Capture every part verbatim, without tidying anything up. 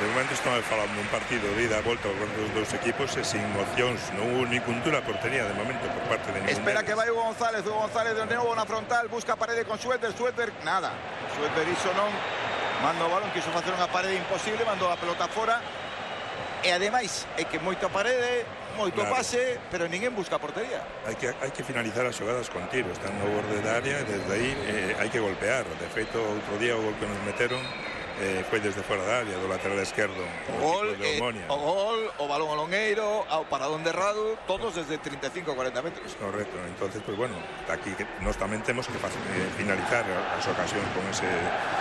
De momento estamos falando un partido de ida a volta con os dous equipos e sin opcións, non hubo ni puntura a portería de momento por parte de ningún. Espera que vai Hugo González, Hugo González de novo na frontal, busca parede con Schroeder, Schroeder, nada. Schroeder iso non, manda o balón, quiso facer unha parede imposible, mandou a pelota fora. E ademais, é que moito a parede, moito claro. pase, pero ninguén busca a portería. Hai que, hai que finalizar as xogadas con tiro, están no borde da área e desde aí eh, hai que golpear. De feito, outro día o gol que nos meteron Eh, foi desde fora da área, do lateral esquerdo, o gol, de Omonia. Eh, o gol, o balón ao longueiro, ao paradón de Radu, todos desde treinta e cinco a cuarenta metros. Correcto, entonces, pues bueno, aquí que nós tamén temos que eh, finalizar as ocasións con ese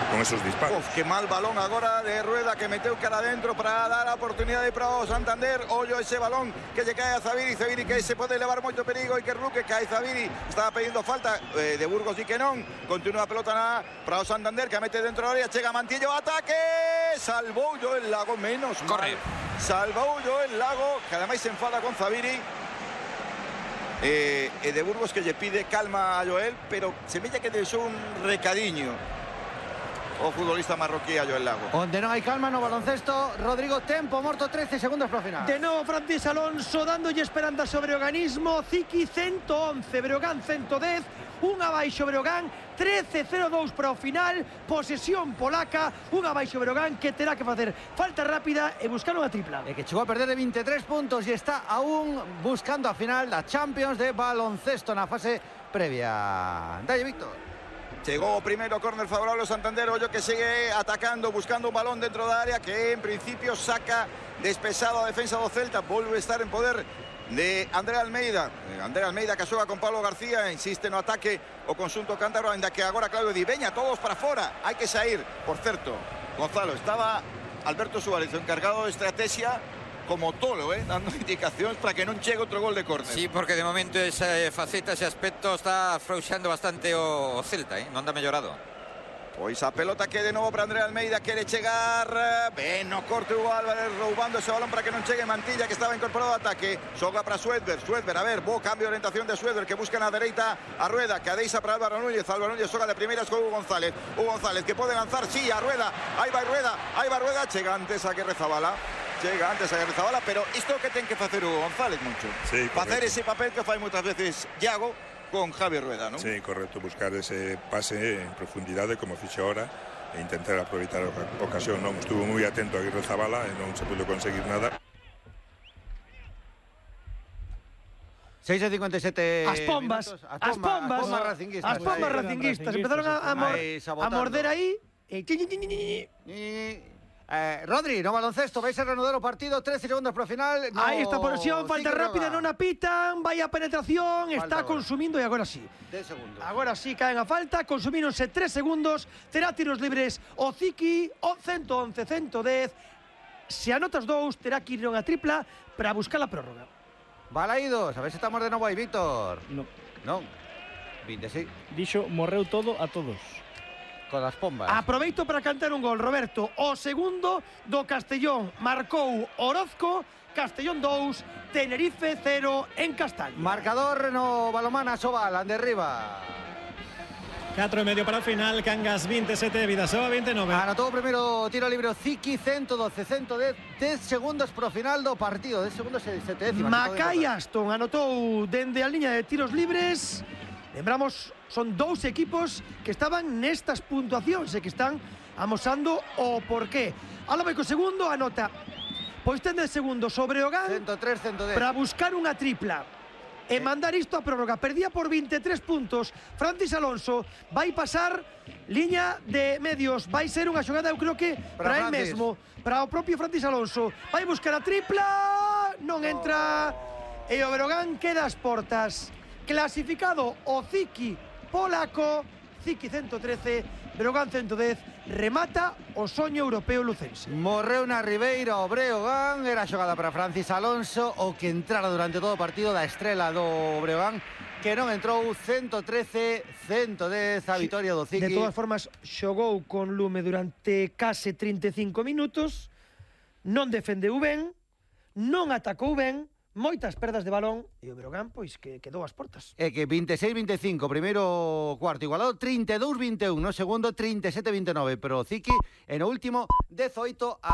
con esos disparos. Uf, que mal balón agora de Rueda que meteu cara adentro para dar a oportunidade para o Santander. Ollo ese balón que lle cae a Zabiri, Zabiri que se pode levar moito perigo e que Ruque cae Zabiri, estaba pedindo falta eh, de Burgos e que non. Continúa a pelota na para o Santander que a mete dentro da área, chega Mantillo, ataque, salvou yo el Lago, menos Corre. mal. Salvou yo el Lago, que ademais se enfada con Zabiri. Eh, e de Burgos que lle pide calma a Joel, pero semella que deixou un recadiño o futbolista marroquí a Joel Lago. Onde non hai calma no baloncesto, Rodrigo, tempo morto, trece segundos para o final. De novo Francis Alonso dándolle esperanza sobre o organismo. Ziki ciento once, Breogán ciento dez, unha baixo Breogán, trece cero dous para o final, posesión polaca, unha baixo Breogán que terá que facer falta rápida e buscar unha tripla. E que chegou a perder de veintitrés puntos e está aún buscando a final da Champions de baloncesto na fase previa. Dalle, Víctor. Chegou o primeiro córner favorable ao Santander, ollo que segue atacando, buscando un balón dentro da área que en principio saca despesado a defensa do Celta, volve a estar en poder de André Almeida. André Almeida que xoga con Pablo García, insiste no ataque o conxunto cántabro, ainda que agora Claudio di veña todos para fora, hai que sair. Por certo, Gonzalo, estaba Alberto Suárez, o encargado de estrategia, como tolo, eh, dando indicacións para que non chegue outro gol de córner. Sí, porque de momento esa faceta, ese aspecto está afrouxando bastante o Celta, eh? Non anda mellorado. Pois a pelota que de novo para André Almeida, quere chegar, ben no corte Hugo Álvarez roubando ese balón para que non chegue Mantilla, que estaba incorporado ao ataque, xoga para Schroeder, Schroeder, a ver, bo cambio de orientación de Schroeder, que busca na dereita a Rueda, que a deixa para Álvaro Núñez, Álvaro Núñez xoga de primeiras con Hugo González, Hugo González que pode lanzar, sí, a Rueda, aí vai Rueda, aí vai Rueda, chega antes a que Rezabala, chega antes a que Rezabala, pero isto que ten que facer Hugo González, mucho, sí, facer ese papel que fai moitas veces Iago con Javier Rueda, ¿no? Sí, correcto, buscar ese pase en profundidade como fixe ahora e intentar aproveitar a ocasión, non? Estuvo moi atento a Aguirre Zabala e non se pudo conseguir nada. seis e cincuenta e sete As pombas, minutos. as pombas, as pombas racinguistas. as pombas Aí. racinguistas empezaron a, a, mor Aí, a sabotando. morder aí e chi, chi, chi, chi, chi. Eh, Rodri, no baloncesto, vais a reanudar o partido, trece segundos para o final. No, Aí está porción, falta cinco rápida, roba. non apitan, vai a penetración, Falta está agora. consumindo e agora sí. dez segundos. Agora sí caen a falta, consumíronse tres segundos, terá tiros libres o Ziki, o ciento once, ciento dez. Se anotas dous, terá que ir unha tripla para buscar a prórroga. Balaídos, a ver se estamos de novo aí, Víctor. No, Non, veintiséis, dixo morreu todo a todos. con as pombas. Aproveito para cantar un gol, Roberto. O segundo do Castellón marcou Orozco, Castellón dous, Tenerife cero en Castaño. Marcador no balomana Sobal, ande arriba. catro e medio para o final, Cangas veintisiete, Vidasoa veintinueve. Anotou o primeiro tiro libre o Ziki, ciento doce, ciento dez, dez segundos pro final do partido, dez segundos e sete décimas. Macai Aston anotou dende a liña de tiros libres. Lembramos, son dous equipos que estaban nestas puntuacións e que están amosando o porqué. Ala vai co segundo, anota. Pois ten de segundo sobre o Breogán ciento tres, ciento dez. para buscar unha tripla e mandar isto a prórroga. Perdía por veintitrés puntos. Francis Alonso vai pasar liña de medios. Vai ser unha xogada, eu creo que para, Para el Francis. mesmo, para o propio Francis Alonso. Vai buscar a tripla, non entra e o Breogán queda ás portas. Clasificado o Ziki polaco, Ziki ciento trece, Breogán ciento dez, remata o soño europeo lucense. Morreu na Ribeira o Breogán, era xogada para Francis Alonso, o que entrara durante todo o partido da estrela do Breogán, que non entrou. Ciento trece, ciento dez a vitoria do Ziki. De todas formas, xogou con lume durante case trinta e cinco minutos, non defendeu ben, non atacou ben, moitas perdas de balón e o Breogán pois que quedou ás portas. É que veintiséis veinticinco, primeiro cuarto igualado, trinta e dous veintiún, no segundo trinta e sete veintinueve, pero o Ziki en o último dezoito a